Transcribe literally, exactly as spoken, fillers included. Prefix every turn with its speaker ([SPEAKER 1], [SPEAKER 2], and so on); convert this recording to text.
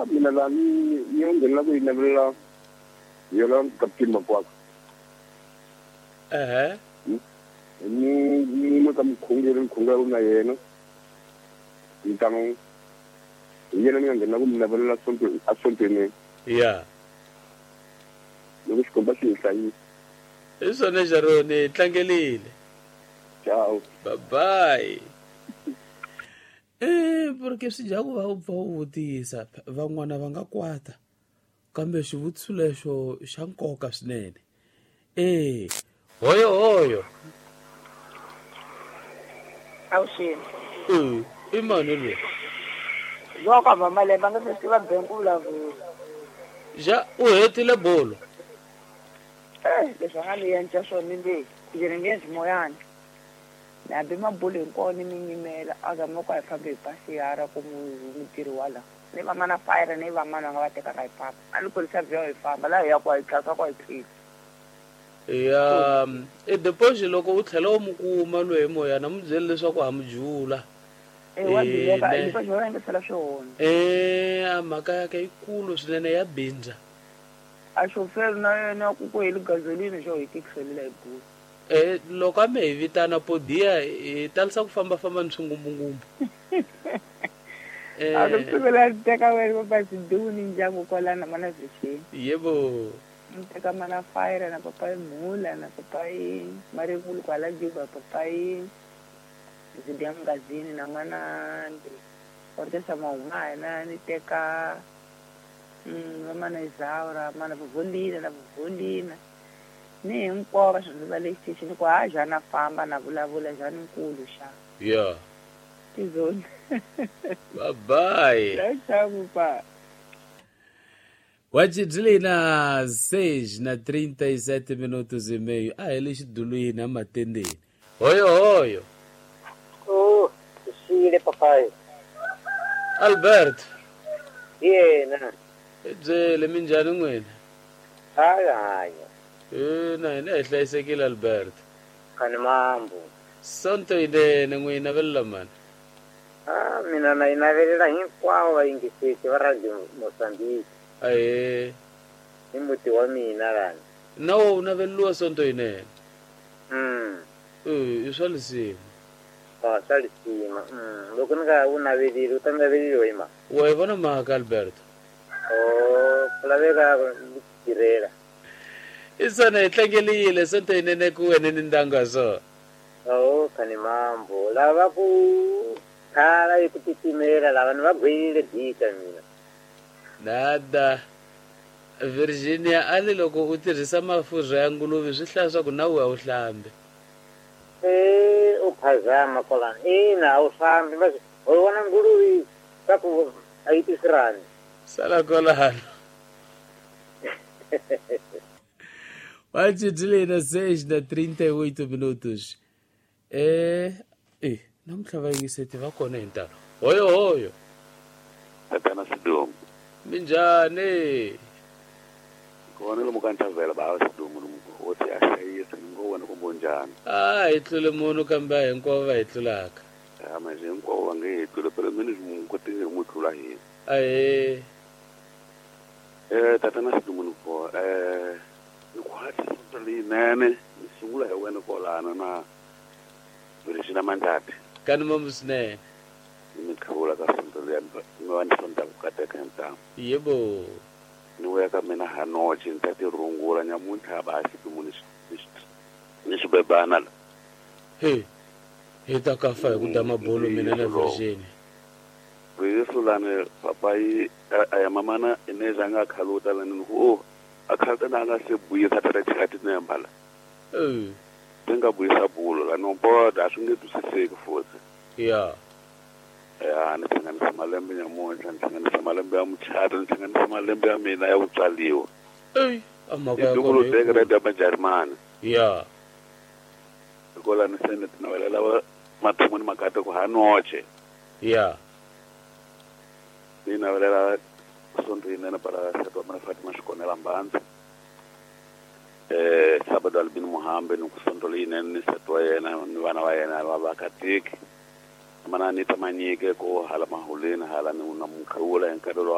[SPEAKER 1] Ah, mina la ni ni ngena ku yinavelela yona Captain Makwakwa.
[SPEAKER 2] Eh.
[SPEAKER 1] Ni ni mo ka mkhongeri mkhongeri na yena. Ntango yena ni ngena ku yinavelela sonto a sonto ne.
[SPEAKER 2] Yeah.
[SPEAKER 1] Loko xikomba xi hlayisa.
[SPEAKER 2] I swona Jaroni tlangelile.
[SPEAKER 1] Ciao.
[SPEAKER 2] Bye bye. Eh, porque swi dya ku va u pfa u vutisa van'wana va nga kwata kambe xivutiso lexo xa nkoka swinene. Eh, hoyo hoyo.
[SPEAKER 3] Awuxini.
[SPEAKER 2] Eh, i mani loyi?
[SPEAKER 3] Loko mama lemba nga se tiva bank vulavula.
[SPEAKER 2] Ja u hetile bolo.
[SPEAKER 3] Eh, leswi a nga ni endla swona le, ndzi nge endli moyani. Hambi mabulu hinkwawo ni mi nyimela a zama ku a hi fambi hi pasiyara ku mutirhi wa la ni va mana fayira ni va mana va nga va tekaka hi famba a ni kurisa vyo hi famba laha hi ya ku hi tlhaka ku hi tlhela
[SPEAKER 2] ya i deposit loko u tlhela u mu kuma loyi moyana mu byele leswaku ha mu jula
[SPEAKER 3] eh
[SPEAKER 2] a mhaka ya ka yikulu swinene ya bindza
[SPEAKER 3] a chauffeur na yena ku ku heli gasolini xo hi tikiselela hi bulu.
[SPEAKER 2] Eh loko a me hi vitana podia hi talisa ku famba famba ni swingumbungumbu. Eh
[SPEAKER 3] a ku sivela teka wena papa Siduni ndyangu kwalana mana Vixini.
[SPEAKER 2] Yebo.
[SPEAKER 3] Ni teka mana Fire na papa Mhula na papa Marivulu kwala Juba papa Zidia Mgazini na mana Ortesa Maumana ni teka mm mana Isaura mana Volina na Volina. Ni hinkwavo va swi va le xitichini ku ha jana famba na vulavula jana nkulu xa.
[SPEAKER 2] Yeah.
[SPEAKER 3] Tizoni.
[SPEAKER 2] Bye bye.
[SPEAKER 3] Tchau, pa.
[SPEAKER 2] Wajidlina seis na trinta e sete minutos e meio. Ah, ele xidulwini amatendeni. Hoyo hoyo.
[SPEAKER 4] Oh, xile papai.
[SPEAKER 2] Albert.
[SPEAKER 4] Yena.
[SPEAKER 2] Byele minjhani n'wina?
[SPEAKER 4] Hayi hayi.
[SPEAKER 2] Eh, na hina hi hlayisekile Albert.
[SPEAKER 4] Kani mambo.
[SPEAKER 2] Sonto yinene n'wina velela mani.
[SPEAKER 4] Ah, mina na yi navelela hinkwavo vayingiseti va Radio Mozambique.
[SPEAKER 2] Ahee.
[SPEAKER 4] Hi muti wa mina lani.
[SPEAKER 2] Na wo u naveleliwa sonto yinene.
[SPEAKER 4] Mm.
[SPEAKER 2] Eh, i swa lisima.
[SPEAKER 4] Ah, swa lisima. Mm. Loko ni nga wu naveleli u ta naveleliwa hi mani?
[SPEAKER 2] Wa yi vona mhaka Albert.
[SPEAKER 4] Oh, ku laveka ni tirhela.
[SPEAKER 2] Isona hi tlangelile sonto yinene ku wena ni ndyangu wa swona.
[SPEAKER 4] Oh, kani mambo. Lava ku khala hi ku titimela lava ni va gwelile dika mina.
[SPEAKER 2] Nada. Virginia ali loko u tirhisa mafurha ya nguluve swi hlaya swa ku na we a wu hlambi.
[SPEAKER 4] Eh, u phazama kwalano. Ina a wu hlambi va u vona nguluve swa ku a yi tisirani.
[SPEAKER 2] Sala kwalano. Wajidlina seis na trinta e oito minutos. Eh, eh, namuntlha vayingiseti va kona hi ntalo. Hoyo hoyo.
[SPEAKER 5] Tatana Sidumo.
[SPEAKER 2] Minjhani?
[SPEAKER 5] Kona lomu ka nthavela ba Sidumo lomu hosi a hlayisa ni ngo wena kumbe njhani?
[SPEAKER 2] Ah, hi tlule munhu kambe hinkwavo va hi tlulaka.
[SPEAKER 5] Ah, manje hinkwavo va nge hi tlule phela mina ni kote ni n'wi tlula hina.
[SPEAKER 2] Ahee.
[SPEAKER 5] Eh, tatana Sidumo ni ko eh ni khwati sonto leyinene ni sungula hi wena kwalano na Virginia Mandati.
[SPEAKER 2] Kani mambo swinene.
[SPEAKER 5] Ni mi khawula ka sonto leyi mi va ni sonta ku kateka hi ntamu.
[SPEAKER 2] Yebo.
[SPEAKER 5] Ni vuya ka mina hanoche ni ta ti rungula nyamuntlha ba Sidumo ni ni xibebana la.
[SPEAKER 2] He. Hi ta ka fa hi ku da mabolo mina na Virginia.
[SPEAKER 5] Risulane papai a mamana ineza nga khaluta la ni ku oh a khaluta na nga se buyisa tata chati nembala.
[SPEAKER 2] Eh.
[SPEAKER 5] Tinga buyisa bulo la no boda swi nge twisiseki futhi.
[SPEAKER 2] Yeah.
[SPEAKER 5] Ya ni hlanganisa malembe nyamuntlha ni hlanganisa malembe ya muchato ni hlanganisa malembe ya mina ya ku tswaliwa.
[SPEAKER 2] Ey, amaka ya
[SPEAKER 5] kona. Teka radio ya Majarimani.
[SPEAKER 2] Yeah.
[SPEAKER 5] Hikola ni se ni tinavelela va mathomo ni makate ku hanoche.
[SPEAKER 2] Yeah.
[SPEAKER 5] Ni navelela sonto yinene para nsati wa mina Fatima Xikonela Mbandzi. Eh, Sabado Albin Muhambe ni ku sonto leyinene ni nsati wa yena ni vana va yena va vakatiki. Mana Anita Manyike ko hala mahuleni hala ni na mukhawula hi nkarhi lowu